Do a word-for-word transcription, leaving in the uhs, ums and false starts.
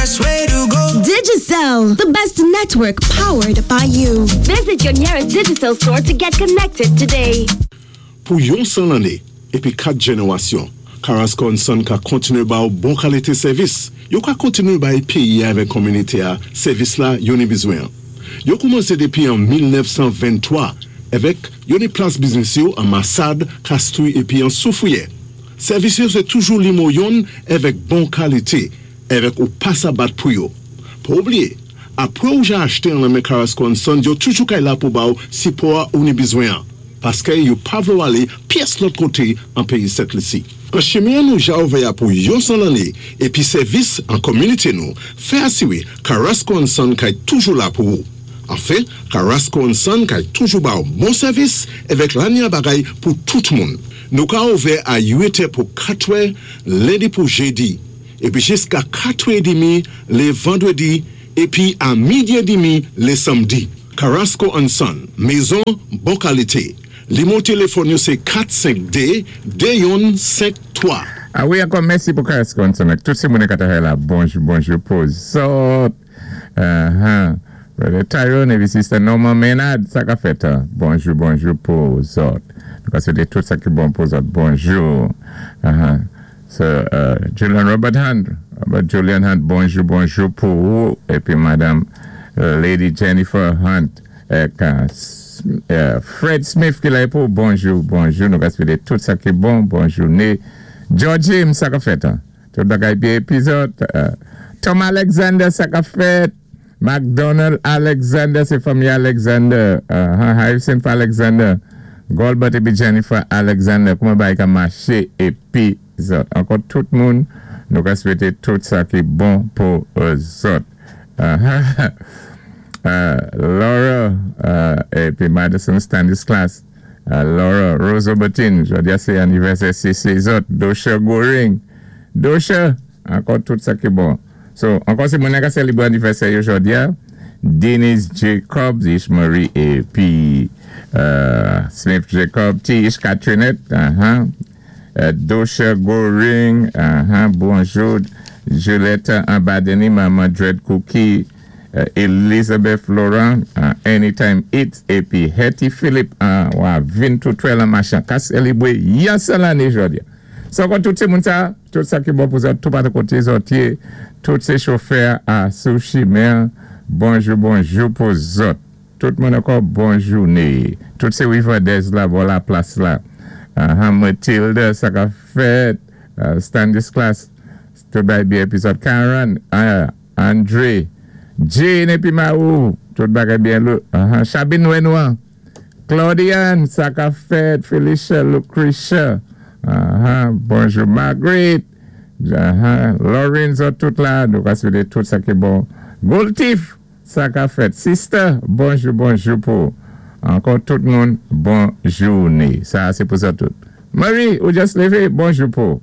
best way to go. Digicel, the best network powered by you. Visit your nearest Digicel store to get connected today. Pou yon san lanné, épi kat jénéwasyon, Carrasco and Son ka kontiné ba ou bon kalité sèvis. Yo ka kontiné bay péyi avèk kominité-a, sèvis la yo ni bizwen. Yo koumansé dépi an mil nèf san venntwa, avèk yo ni plas biznis yo an Massade, Castries épi an Soufrière. Sèvis yo sé toujou nimewo youn avèk bon kalité, avèk ou pa sa bat pou yo. Pa oubliyé, apwé ou ja achté an nan men Carrasco and Son, yo toujou kay la pou ba ou sipò ou ni bizwen an. Paské yo pa vlé ou alé pyès lòt koté an péyi Sent Lisi. An chimen nou ja ouvè pou yon san lanné épi sèvis an kominité nou, fè asiwé Carrasco and Son kay toujou la pou ou. Anfen, Carrasco and Son kay toujou ba ou bon sèvis avèk lanya bagay pou tout moun. Nou ka ouvè a uit è pou katwè, lendi pou jédi, épi jiska katwè édmi lé vandwédi, épi a midi édmi lé sanmdi. Carrasco and Son, mézon bon kalité. Nimewo téléfòn yo sé kat senk dé de youn senk twa. A wi, ankò mèsi pou Carrasco and Son. Tout sé moun ka travay la, bonjou, bonjou pou zòt. Uh-huh. Brother Tyrone épi Sister Norman Maynard, sa ka fèt, hein? Bonjou, bonjou pou zòt. Donk, sé tout sa ki bon pou zòt. Bonjou. Uh-huh. So, uh, Julian Robert Hunt, Robert Julian Hunt, bonjou, bonjou pou ou. Épi Madame uh, Lady Jennifer Hunt, ek, uh, uh, Fred Smith ki la pou bonjou, bonjou. Nou ka swété tout sa ki bon, bonjou. Né George James, sa ka fèt, hein? Tout bagay byen épi zòt. Uh, Tom Alexander, sa ka fèt. McDonald Alexander, sé fanmi Alexander. Uh, Harrison Alexander. Goldberg épi Jennifer Alexander. Kouman bagay ka maché épi zòt. Ankò tout moun, nou ka swété tout sa ki bon pou zòt. Uh, uh, Laura uh, épi Madison Stanislas. Uh, Laura Rose Obertin, jòdi-a sé anivèsè sé sé zòt. Dosha Goring. Dosha, ankò tout sa ki bon. So, ankò sé moun ka sélébré anivèsè yo jòdi-a. Denise Jacobs, Ish Marie épi uh, Smith Jacob, T. Ish Catrinette, uh-huh. uh, Dosha Goring, uh-huh. Bonjou, Julietta Ambadeni, Mama Dread Cookie, uh, Elizabeth Laurent, uh, Anytime Eats, épi Hetty Philip, uh, wa vin tout twèl an machan, ka sélébré yon sèl anné jòdi-a. So, ankò tout sé moun sa, tout sa ki bon pou zòt, tout patou koté zòt yé, tout sé chofè a sou chimen, bonjou, bonjou pou zòt. Tout moun ankò bon jouné. Tout sé Riverdez la, bò la plas la. Uh, Matilda, sa ka fèt, uh, Stanislas, tout bagay byen épi zòt. Karen, uh, Andre, Jane épi Maou, tout bagay byen lou. Uh, Chabine Wenois, Claudiane, sa ka fèt, Felicia, Lucretia, uh, bonjou Margaret, uh, Lorenzo, tout la, nou ka swété tout sa ki bon. Goltif, sa ka fèt. Sister, bonjou, bonjou pou. Ankò tout moun, bon jouné. Sa, sé pou sa tout. Marie, ou just lévé, bonjou pou.